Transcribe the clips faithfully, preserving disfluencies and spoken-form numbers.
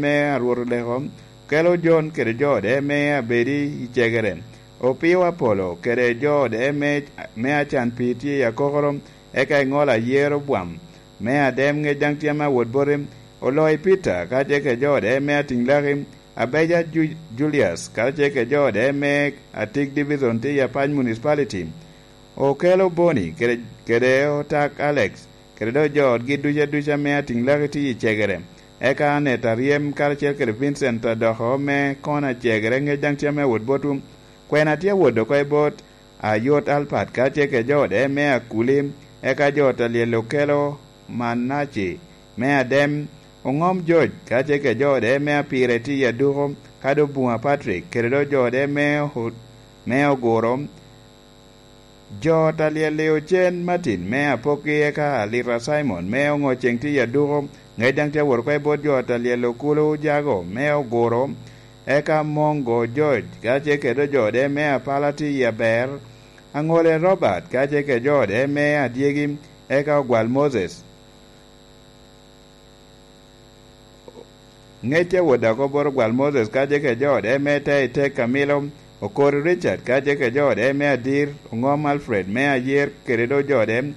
me Arwot Oleko, kelo Jon kede jo ode me abedi i cegere. Opio Apolo kede jo ode me, me acan pii tye i akokoro, eka i ŋolo ayero bwam me adem ŋec daŋ tye ame awot boti. Oloi Peter kacel kede jo ode me atiŋ laki, Abeja Ju-, Julius kacel kede jo ode me atik divison tye i Apac Municipality. Okelo Boni kede, kede Otak Alex, kede dok jo otgi duca duca me atiŋ laki tye i cegere. Eka Aneta Aryem karacel kede Vincent Adoko me kona cegere ŋec daŋ tye ame awot botwu. Kwena tye awot oko i bot Ayot Alpat kacel kede jo ode me Akuli, eka jo ot a lyel okelo Manaci me Adem, Oŋom George kacel kede jo ode me Apire tye i Aduko, ka dok Bunga Patrick kede dok jo ode me Ot-, me Oguro. Jo ot a lyel i Ocen Martin me Apoki, eka Alita Simon me Oŋoceŋ tye i Aduko, ŋec daŋ tye awot oko i bot jo ot a lyel Okulu Jago me Oguro, eka Mongo George kacel kede jo ode me Apala tye i Aber, Aŋole Robert kacel kede jo ode me Adyegi, eka Ogwal Moses. Ŋec awot oko bot Ogwal Moses kacel kede jo ode me te i tek Kamilo, Okori Richard kacel kede jo ode me Adir, Oŋom Alfred me Ayer kede dok jo ode,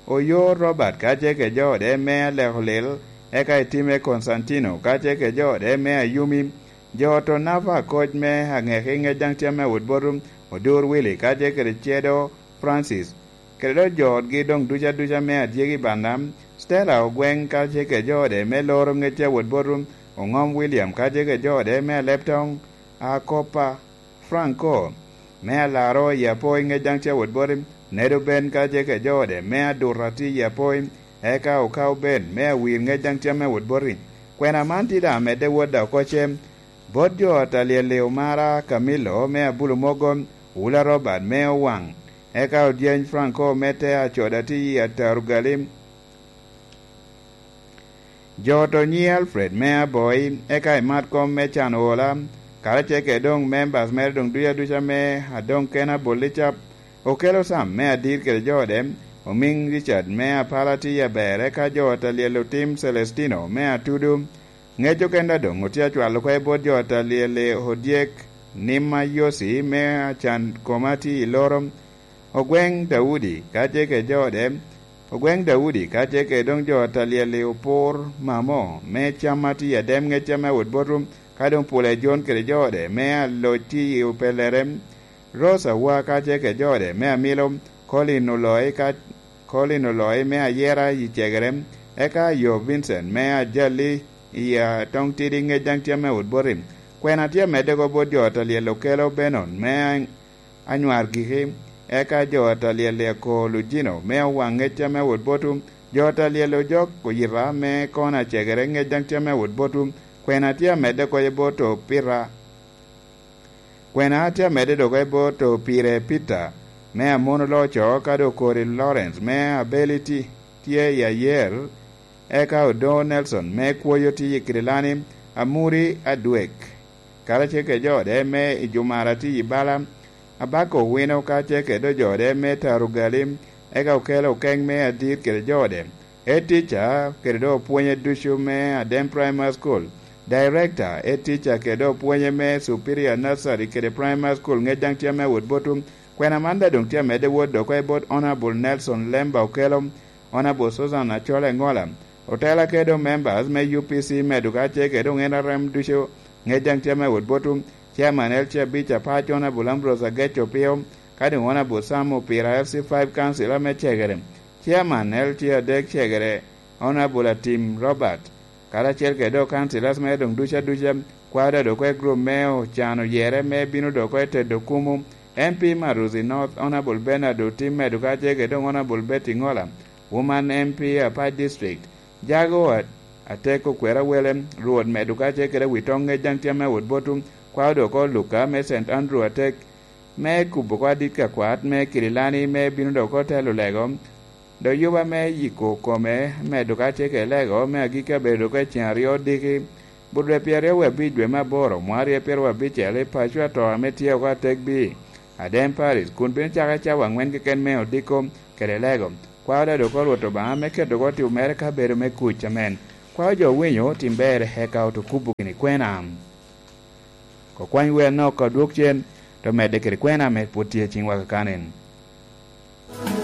Oyo Robert kacel kede jo ode me Aleko Lil, eka Itime Konstantino kacel kede jo ode me Ayumi, jo ot Onava Akoc me Aŋeki ŋec daŋ tye ame awot botwu, Odur Willy kacel kede Cedo Francis, kede dok jo otgi doŋ duca duca me Adyegi Banda, Stella Ogweŋ kacel kede jo ode me Loro ŋec tye awot botwu, Oŋom William kacel kede jo ode me Aleptoŋ, Akopa Franco me Alaro i Apoi ŋec daŋ tye awot boti, Nedo Ben kacel kede jo ode me Aduta tye i Apoi, eka Okao Ben me Awir ŋec daŋ tye ame awot boti. Kwena man tye daŋ amedde wot oko ce, bot jo ot a lyel i Omara Kamilo me Abulu Mogo, Wula Robert me Owaŋ, eka Odyeny Franco me te Acoda tye i Atarugali, jo ot Onyi Alfred me Aboi, eka i mat kom me Can Ola, karacel kede doŋ members mere doŋ duca duca me Adoŋ Kena Bolica, Okelo Sam me Adir kede jo ode, Omiŋ Richard me Apala tye i Aber, eka jo ot a lyel Otim Celestino me Atudu, ŋec okenda doŋ otye acwalo oko i bot jo ot a lyel i Odyek, Nima Yosi me Acan Koma tye i Loro, Ogweŋ Daudi kacel kede jo ode, Ogweŋ Daudi kacel kede doŋ jo ot a lyel i Opur Mamo me Cam a tye i Adem ŋec ame awot botwu, ka doŋ Pule Jon kede jo ode me aloc tye i Opelere, Rose Awa kacel kede jo ode me Amilo, Colin Oloi ka, Colin Oloi me Ayera i Cegere, eka Ayo Vincent me Ajali i Atoŋ Tidi ŋec daŋ tye ame awot boti. Kwena tye amedde oko bot jo ot a lyel Okelo Benon me Anywar Giki, eka jo ot a lyel i Ako Lujino me Owaŋ ŋec ame awot botwu, jo ot a lyel Ojok Oyita me Kona Cegere ŋec daŋ tye ame awot botwu. Kwena tye amedde oko i bot Opita. Kwena tye amedde dok i bot Opire Peter me Amono Loco, ka doŋ Okori Lawrence me Abeli ti-, tye i Ayer, eka Odoŋo Nelson me Kwoyo tye i Kirilani, Amuri Adwek, karacel kede jo ode me Ijumara tye i Bala, Abako Owino kacel kede jo ode me Tarugali, eka Okelo Okeŋ me Adit kede jo ode. Head teacher kede doŋ opwonye ducu me Adem Primary School. Director, head teacher kede doŋ opwonye me Superior Nursery kede Primary School ŋec daŋ tye ame awot botwu. Kwena man daŋ doŋ tye amedde wot dok oko i bot Honorable Nelson Lemba Okelo, Honorable Susan Achol Engola, otela kede doŋ members me U P C medo kacel kede doŋ N R M ducu ŋec daŋ tye ame awot botwu. Chairman L C abic apac Honorable Ambrose Agec Opio, ka doŋ Honorable Sam Opira F C five Council ame Cegere. Chairman L C adek Cegere, Honorable Atim Robert, karacel kede doŋ councillors mere doŋ duca duca, kwao doŋ dok oko i group me Ocan Oyere me bino dok oko i tedo kumu, M P Maruzi North, Honorable Bernard Otim medo kacel kede doŋ Honorable Betty Ngola, Woman M P Apac District, Jago At-, Atek Okwera Wele, Rwot medo kacel kede wi toŋ ŋec daŋ tye ame awot botwu, kwao doŋ oko Luka me Saint Andrew Atek, me kubo oko adit ka kwat me Kirilani me bino doŋ oko telo lego, dok yuba me yiko kome medo kacel kede lego me agikki abedo dok oko i ceŋ aryo diki, Budwe pyeraryo wie abic dwe me aboro, mwa aryo pyeraryo abicel, i paco ato ame tye oko atek bi Adem Paris, kun bino cako i cawa aŋwen keken me odiko kede lego. Kwao doŋ oko Rwot Obaŋa me keto oko tipo mere ka bedo me kuc. Amen. Kwao jo owinyo tim ber eka oto kubo gini kwena. Kokwany wer nok ka odwok cen, to medde kede kwena ame pwod tye i ciŋwa kakanen.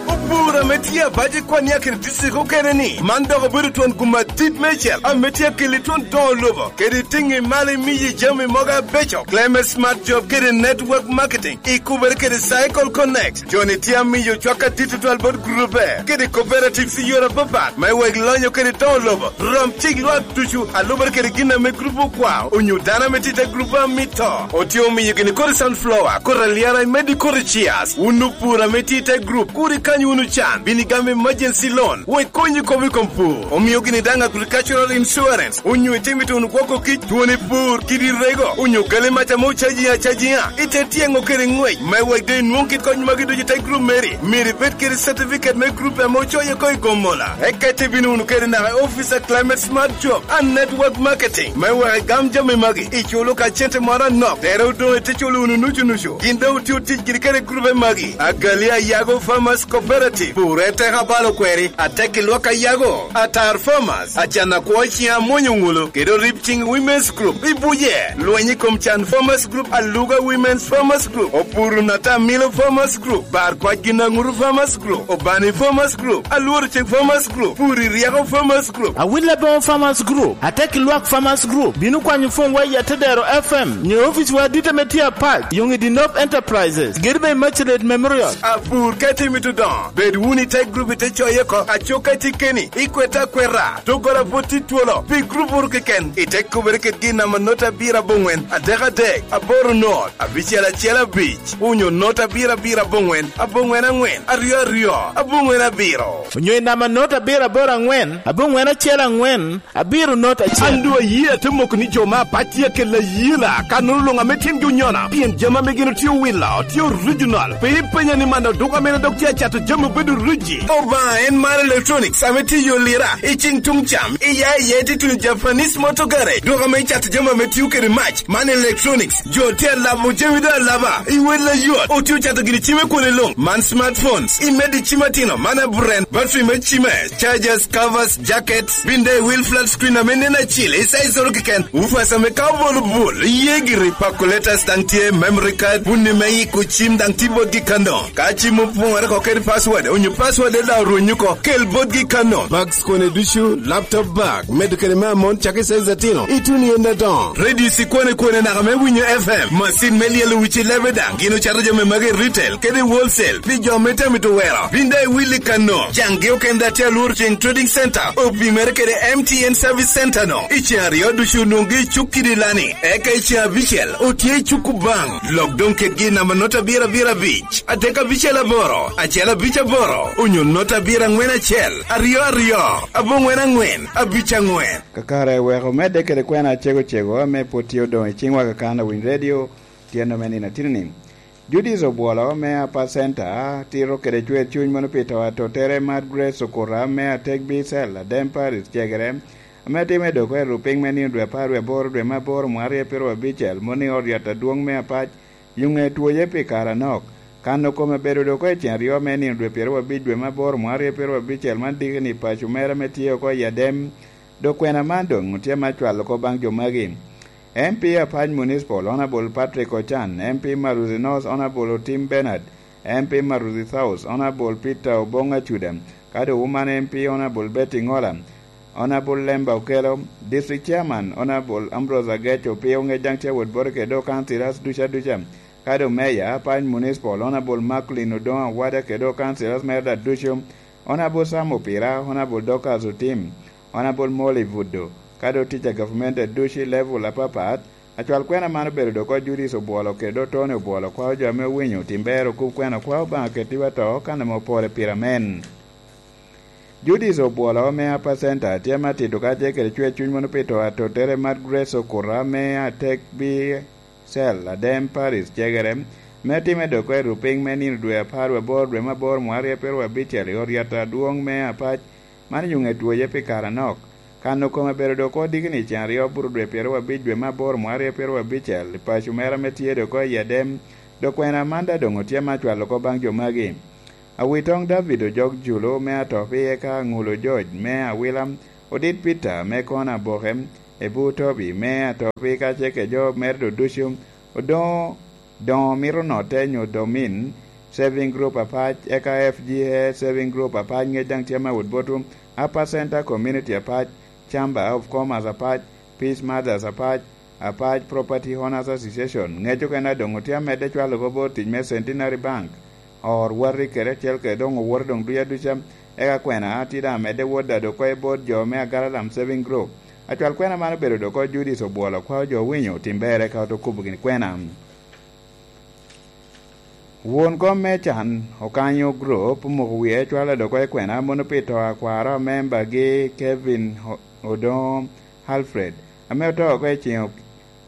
Opur ame tye abac i kwan i akina district okene ni, man dok obedo twon gum adit mecel ame tye akeli twon doŋo lobo, kede tiŋi malo imiyi jami mogo abeco. Clement Smart Job kede Network Marketing, i kubere kede Cycle Connect. Joni tye amiyo cwak adit tutwal bot grube kede cooperatives i yore apapat, me wek lonyo kede doŋo lobo, rom cik lwak ducu, alubere kede gin ame grup okwao, onyo dano ame tye i te grup amito. Otye omiyo gini kodi sunflower, kodi alyara, imedde kodi chias. Wun opur ame tye i te grup, kur ikany wunu can, bin igam emergency loan, wek konyi kop i kom pur. Omio gini daŋ agricultural insurance, onyo itimo ituno gwoko kic, twoni pur, kidi rego, onyo gali mac ame ocaji acajiŋa, ite tyeŋo kede ŋwec, me wek doŋ inwoŋ kit kony magi ducu i te grup meri. Myero ibed kede certificate me grup ame ocoye oko i Gomola. Eka ite bino wunu kede naka i office a Climate Smart Job and Network Marketing, me wek igam jami magi, iculo ka cente moro anok, tere odoŋ ite culo wunu nucu nucu. Gin doŋ otye otic giri kede grupe magi, Agali Ayago Farmers Cooperative, Pur Eteka Balo Kweri, Atek i Lwak Ayago, Atar Farmers, Acan Akwo Ciŋ Amwonyo Ŋulo, kede Orip Ciŋ Women's Group. I Buje, lweny i kom Can Farmers Group, Aluga Women's Farmers Group, Opuru Nata Milo Farmers Group, Bar Kwac Gin Aŋuru Farmers Group, Obani Farmers Group, Alworo Cek Farmers Group, Puri Ryeko Farmers Group, Awil Aboŋo Farmers Group, Atek i Lwak Farmers Group. Bino kwanyo fon wa i Atedero F M, nyo ofice wa adit ame tye apac, Yoŋ i Dinop Enterprises, Gedibe Immaculate Memorial. Apur ka itimo ituno, bed wunu i te grup ite coye oko, aco ka itye keni, ikwete akweta, doggola pwod tye twolo, pi grup wunu keken, ite kubere kede gin namba not abiro aboŋwen, adek adek, aboro not, abicel acel abic, onyo not abiro abiro aboŋwen, aboŋwen aŋwen, aryo aryo, aboŋwen abiro. Onyo i namba not abiro aboro aŋwen, aboŋwen acel aŋwen, abiro not acel. An doŋ aye ate moko ni jo me apac tye akelo ayela, ka nono luŋ ame tyengi onyono, pien jami ame gin otye owilo, tye original. Pe ipenya ni man oduka mene dok tye acato jami obedo riji. Obaŋa en mar electronics ame tye i yo lira, i ciŋ tuŋ cam, i ya i ya itye tuno Japanese Motor Garage, duka ame icato jami ame tio kede mac, man electronics. Jo tye alabo jami doŋ alaba, i wel ayot, otye ocato gini cime kwone luŋ, man smartphones, i medi cim atino, man aburen, battery me cime, chargers, covers, jackets, bin dai wheel flat screen ame nen acil, i size oro keken, woofers ame ka obolo bul, iye giri, calculators daŋ tye, memory card, bunni me yiko cim daŋ tye botgi kano. Ka cim opoŋore oko kede password, onyo password daŋ orwenyo oko, kel botgi kano. Bags kone ducu, laptop bag, medo kede me amon cakki size atino, ituno i en adoŋo. Radio cikwane kwane naka me winyo F M, macin me lyelo wici lebe daŋ, gin ocato jami magi i retail kede i wholesale, pi jo me tami to wero. Bin daŋ iwilli kano, caŋgi okende atye alworo ceng Trading Center, opimere kede M T N Service Center no. I ceŋ aryo ducu onwoŋgi i cuk kidi lani, eka i ceŋ abicel otye i cuk Kubaŋ. Lok doŋ kedgi i namba not abiro abiro abic, adek abicel aboro, acel abic aboro, onyo not abiro aŋwen acel, aryo aryo, aboŋwen aŋwen, abic aŋwen. Kakare wek omedde kede kwena acego cego ame pwod tye odoŋ i ciŋwa kakan owiny redio, tyen ame nino atino-ni. Judith Obwolo me Apa Center tito kede cwer cuny mono pi to atotere Mad Grace Okuta me Atek Bicel, Adem Paris, Cegere, ame timo i doko i rupiny me nino dwe apar wie aboro dwe me aboro mwaka aryo pyeraryo abicel, mono i ot yat adwoŋ me Apac, Yuŋe twoye pi kare anok. Kano kome bedo doko i cen aryo me nino dwe pyeraryo abic dwe me aboro mwaka aryo pyeraryo abicel man diki ni paco mere ame tye oko i Adem. Dok kwena man doŋ tye me cwalo oko baŋ jo magi. M P Apac Municipal, Honorable Patrick Ochan, M P Maruzi North, Honorable Otim Bernard, M P Maruzi South, Honorable Peter Obong Acuda, kadi Woman M P, Honorable Betty Ngola, Honorable Lemba Okello, District Chairman, Honorable Ambrose Ageco, Opio Ŋec daŋ tye awot bote kede do councillors ducu aduca, kadi Mayor, Apac Municipal, Honorable Macklin Odongo Awada kede do councillors mere da ducu, Honorable Sam Opira, Honorable Dorcas Otim, Honorable Molly Buddo, kadi otic a gavumenti aducu i level apapat. Acwal kwena man obedo dok oko Judith Obwolo kede do Tony Obwolo kwao jo ame owinyo tim ber okub kwena kwao Obaŋa ketiwa to kan ame opore pire amen. Judith Obwolo me Apa Center tye ame atito kacel kede cwer cuny mono pi to atotere Mad Grace Okuta me Atek Bicel, Adem Paris, Cegere, me time dok oko i rupiny me nino dwe apar wie aboro dwe me aboro mwaka aryo pyeraryo abicel i ot yat adwoŋ me Apac, man Yuŋe twoye pi kare anok. Kano kome bedo dok oko diki ni ceŋ aryo buru dwe pyeraryo abic dwe me aboro mwaka aryo pyeraryo abicel i paco mere ame tye dok oko i Adem, dok kwena man daŋ doŋ otye me acwalo oko baŋ jo magi. Awitoŋ David Ojok Julu me Atopi eka Aŋulo George me Awila Odit Peter me Kona Aboke, Ebu Tobi me Atobi, ka ce ke jo mere ducu, odoŋo doŋo mito notte nyo domin saving group apac, eka F G A saving group apac, ŋec daŋ tye me Awot Botu, Upper Center Community apac, Chamber of Commerce apac, Peace Mothers apac, Apac Property Owners Association, ŋec okene a doŋ otye amedde cwalo oko bot tic me Centenary Bank, or wati kede acel kede doŋ owote doŋ duc aduca, eka kwena tye daŋ amedde wot dado oko i bot jo me Agaralam Saving Group. Acwal kwena man obedo dok oko Judith Obwolo, kwao jo owinyo tim berre ka ote kubo gini kwena. Won kom me can okanyo group omoko wie cwalo dok oko i kwena mono pi to a kwaro a membagi Kevin O-, Odongo Alfred, ame oto oko i ceŋ,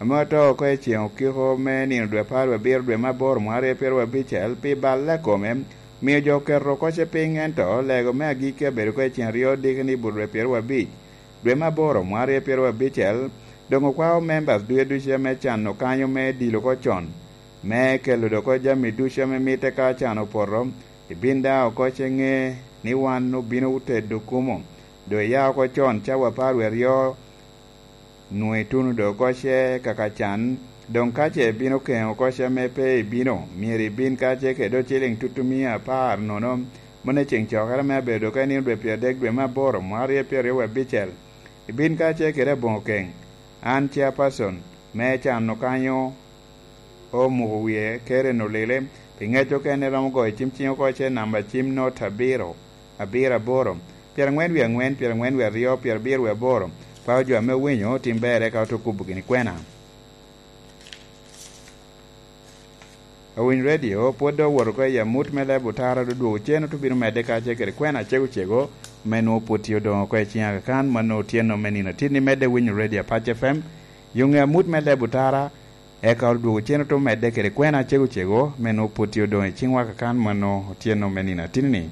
ame oto oko i ceŋ okiko me nino dwe apar wie abiro dwe me aboro mwaka aryo pyeraryo abicel pi balle a kome, mio jo oketo oko ce piny, ento lego me agikki abedo oko i ceŋ aryo diki ni but dwe pyeraryo abic dwe me aboro mwaka aryo pyeraryo abicel, doŋ okwao members ducu ducu ame can okanyo me dilo oko con, me kelo dok oko jami ducu ame mitte ka can opoto, ibin daŋ oko ce ŋe ni wan obino tedo kumo, doŋ iya oko con cawa apar wie aryo, nwoŋo ituno dok oko ce kaka can, doŋ ka ce ibino keŋo oko ce ame pe ibino, myero ibin ka ce kede dok ciliŋ tutumia apar nono, mano ceŋ cokere me abedo dok oko i nino dwe pyeradek dwe me aboro mwaka aryo pyeraryo wie abicel. Ibin ka ce kede aboŋo keŋ, an chairperson me can okanyo omuko wie kede nolile, pi ŋec okene romo goyo cim ciŋ oko ce namba cim not abiro, abiro aboro, pyerangwen wie angwen, pyerangwen wie aryo, pyerabiro wie aboro, kwao jo ame owinyo tim berre ka ote kubo gini kwena. Owiny Radio pwod dok owoto oko i amut me leb otara, dok dwogo cen ote bino medde ka ce kede kwena acego cego, me nwoŋo pwod tye odoŋo oko i ciŋ akakan, mano otyeno me nino atinni. Medde winyo Radio Apac F M, yo ŋe amut me leb otara, eka odwogo cen ote medde kede kwena acego cego, me nwoŋo pwod tye odoŋo i ciŋwa akakan, mano otyeno me nino atinni.